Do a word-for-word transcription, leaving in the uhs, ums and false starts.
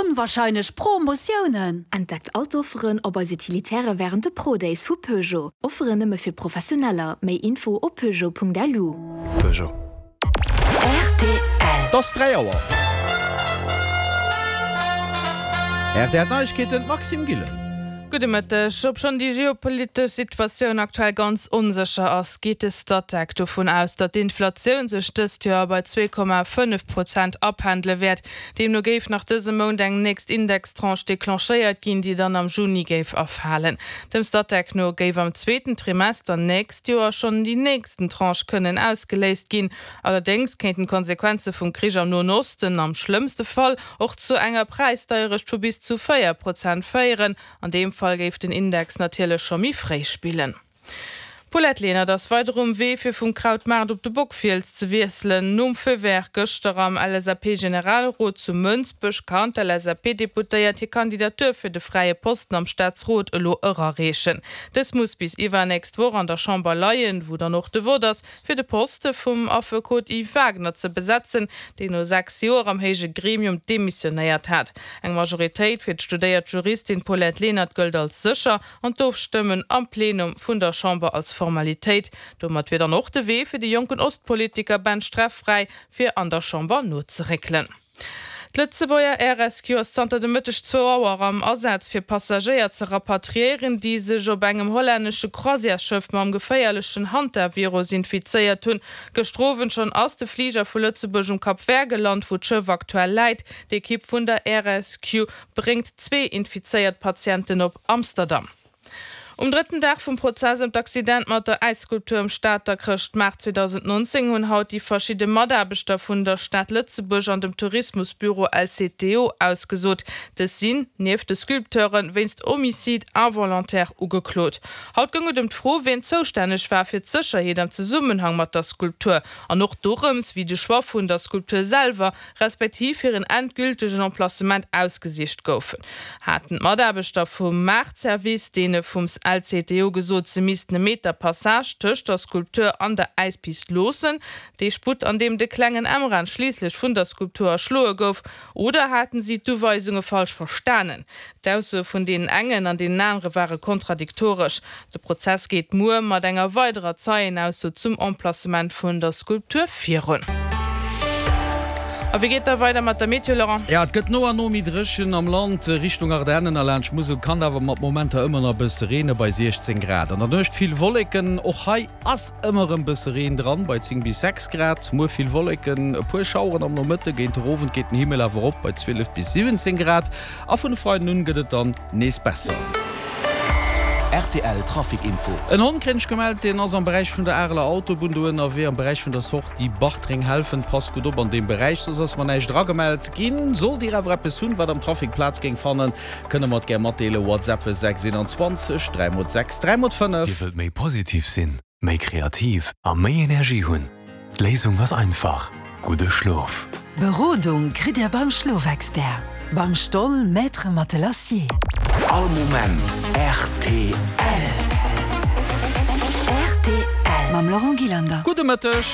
onwahrscheinlech Promotiounen! Entdeckt all d'Offeren op eis Utilitäre wärend de Pro-Days vu Peugeot. Offeren nëmme fir Professioneller. Méi Info op peugeot.lu. Peugeot. Rtl. Et ass dräi Auer. Rtl Neiegkeeten, Maxime Gillen. Gudde Mëtteg. Obschonn déi geopolitesch Situatioun aktuell ganz onsécher ass, geet de Statec dovun aus, datt d'Inflatioun sech dëst Joer bei zwee Komma fënnef Prozent apendele wäert. Deemno géif nach dëse Mount eng nächst Indextranche declenchéiert ginn, déi dann am Juni géif erfalen. Dem Statec no géif am zweeten Trimester nächst Joer schonn déi nächsten Tranche kënnen ausgeléist ginn. Allerdéngs kéinten d'Konsequenze vum Krich am Noen Osten am schlëmmste Fall och zu enger Präisdeierecht vu bis zu véier Prozent féieren. An deem Fall géif den Index natierlech scho méi fréi spillen. D'Paulette Lenert ass weider um Wee fir vum Krautmaart op de Bockfiels ze wiesselen. Nom Feu vert gëschter am L S A P-Generalrot zu Mënsbech kann d'L S A P-Deputéiert hir Kandidatur fir de fräie Posten am Staatsrot elo erareechen. Dës muss bis iwwernächst Woch an der Chamber leien, wou dann och de Vott ass, fir de Poste vum Affekot Yves Wagner ze besetzen, deen no sechs Joer am héije Gremium demissionéiert hat. Eng Majoritéit fir d'studéiert Juristin Paulette Lenert gëllt als sécher an d'Ofstëmmen am Plenum vun der Chamber als Formalitéit. Domat wier dann och de Wee fir de jonken Ostpolitiker Ben Streff fräi, fir an der Chamber nozeréckelen. D'Lëtzebuerger Air Rescue ass zanter de Mëtteg zwou Auer am Asaz fir Passagéier ze rapatriéieren, déi sech op engem hollännesche Croisièresschëff mam geféierlechen Hantavirus infizéiert hunn. Gëschter Owend schonn ass de Fliger vu Lëtzebuerg um Cap Vert gelant, wou d'Schëff aktuell läit. D'Ekipp vun der Air Rescue bréngt zwee infizéiert Patienten op Amsterdam. Um drëtten Dag vum Prozess ëm d'Accident mat der Äisskulptur um Stater Chrëschtmaart zweedausendnonzéng hunn haut déi verschidde Mataarbechter vun der Stad Lëtzebuerg an dem Tourismusbüro L C T O ausgesot. Dës sinn, nieft de Sculpteuren, wéinst Homicide involontaire ugeklot. Haut goung et ëm d'Fro, wien zoustänneg war fir d'Sécherheet am Zesummenhang mat der Skulptur an och dorëms, wéi de Choix vun der Skulptur selwer, respektiv hiren endgültegen Emplacement ausgesicht goufen. Haten d'Mataarbechter vum Maartservice deene vum L C T O gesot, se missten e Meter Passage tëscht der Skulptur an der Äispist loossen, dee Sputt, an deem de klengen Emran schliisslech vun der Skulptur erschloe gouf, oder haten si d'Uweisunge falsch verstanen? D'Aussoe vun deenen engen an deenen anere ware kontradiktoresch. De Prozess geet muer mat enger weiderer Zeienausso zum Emplacement vun der Skulptur virun. A wéi geet da weider mat der Meteo, Laurent? Ja, et gëtt no an no méi dréchen am Land. Richtung Ardennen a laanscht Musel kann awer mat Momenter ëmmer nach bësse reene bei siechzéng Grad. An der Nuecht vill Wolleken, och hei ass ëmmer erëm bësse Reen dran bei zéng bis sechs Grad. Muer vill Wolleken, e puer Schaueren am Nomëtte, géint den Owend geet den Himmel awer op bei zwielef bis siwwenzéng Grad a vun e Freiden un gëtt et dann nees besser. Rtl Trafic Info. En Hond kréien ech gemellt, deen ass am Beräich vun der Areler Autobunn do ënnerwee, am Beräich vun der Sortie Bartreng-Helfent. Passt gutt op an deem Beräich, soss ass mer näischt eragemellt ginn. Sollt Dir awer eppes hunn, wat am Trafic Plaz géing fannen, kënne mer et gär matdeelen, WhatsApp sechs eenanzwanzeg dräi mol sechs dräi mol fënnef. Dir wëllt méi positiv sinn, méi kreativ a méi Energie hunn? D'Léisung ass einfach, gudde Schlof! Berodung kritt Dir beim Schlofexpert, beim Stoll Maître Matelassier. All Moment rtl. Rtl mam Laurent Gillander. Gudde Mëtteg.